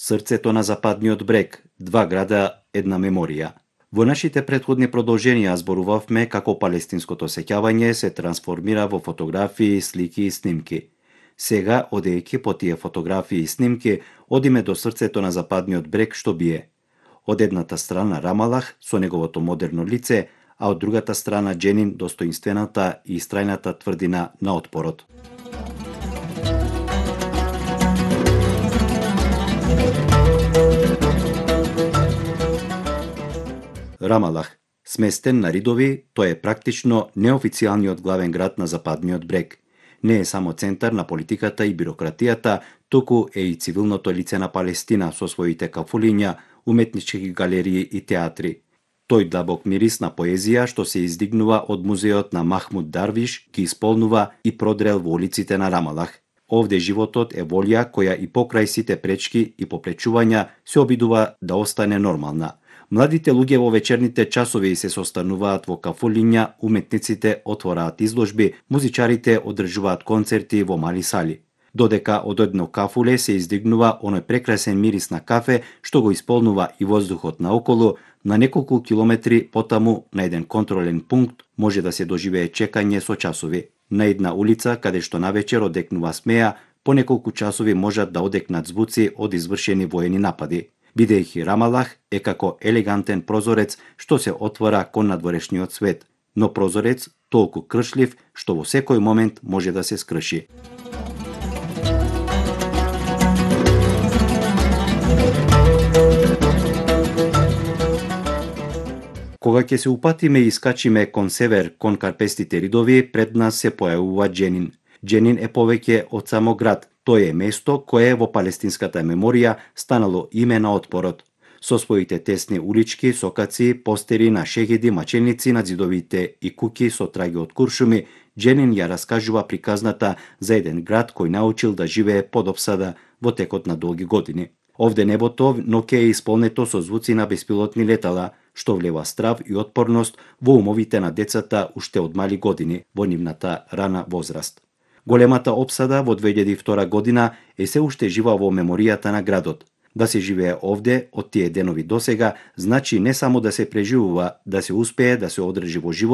Срцето на Западниот брег, два града, една меморија. Во нашите претходни продолженија зборувавме како палестинското сеќавање се трансформира во фотографии, слики и снимки. Сега, одејќи по тие фотографии и снимки, одиме до срцето на Западниот брег што бие. Од едната страна Рамалах со неговото модерно лице, а од другата страна Џенин, достоинствената и истрајната тврдина на отпорот. Рамалах, сместен на ридови, тој е практично неофицијалниот главен град на Западниот брег. Не е само центар на политиката и бирократијата, туку е и цивилното лице на Палестина со своите кафулиња, уметнички галерии и театри. Тој длабок мирис на поезија што се издигнува од музеот на Махмуд Дарвиш ги исполнува и продрел во улиците на Рамалах. Овде животот е волја која и покрај сите пречки и попречувања се обидува да остане нормална. Младите луѓе во вечерните часови се состануваат во кафулиња, уметниците отвораат изложби, музичарите одржуваат концерти во мали сали. Додека од едно кафуле се издигнува оној прекрасен мирис на кафе што го исполнува и воздухот наоколу, на неколку километри потаму на еден контролен пункт може да се доживее чекање со часови. На една улица каде што навечер одекнува смеја, по неколку часови можат да одекнат звуци од извршени воени напади. Бидејќи Рамалах е како елегантен прозорец што се отвора кон надворешниот свет, но прозорец толку кршлив што во секој момент може да се скрши. Кога ќе се упатиме и искачиме кон север, кон карпестите ридови, пред нас се појавува Џенин. Џенин е повеќе од само град, тој е место кое во палестинската меморија станало име на отпорот. Со своите тесни улички, сокаци, постери на шегеди, маченици на ѕидовите и куќи со траги од куршуми, Џенин ја раскажува приказната за еден град кој научил да живее под опсада во текот на долги години. Овде небото ноќе е исполнето со звуци на беспилотни летала, што влева страв и отпорност во умовите на децата уште од мали години во нивната рана возраст. Големата опсада во 2002 година е се уште жива во меморијата на градот. Да се живее овде од тие денови досега значи не само да се преживува, да се успее да се одржи во живот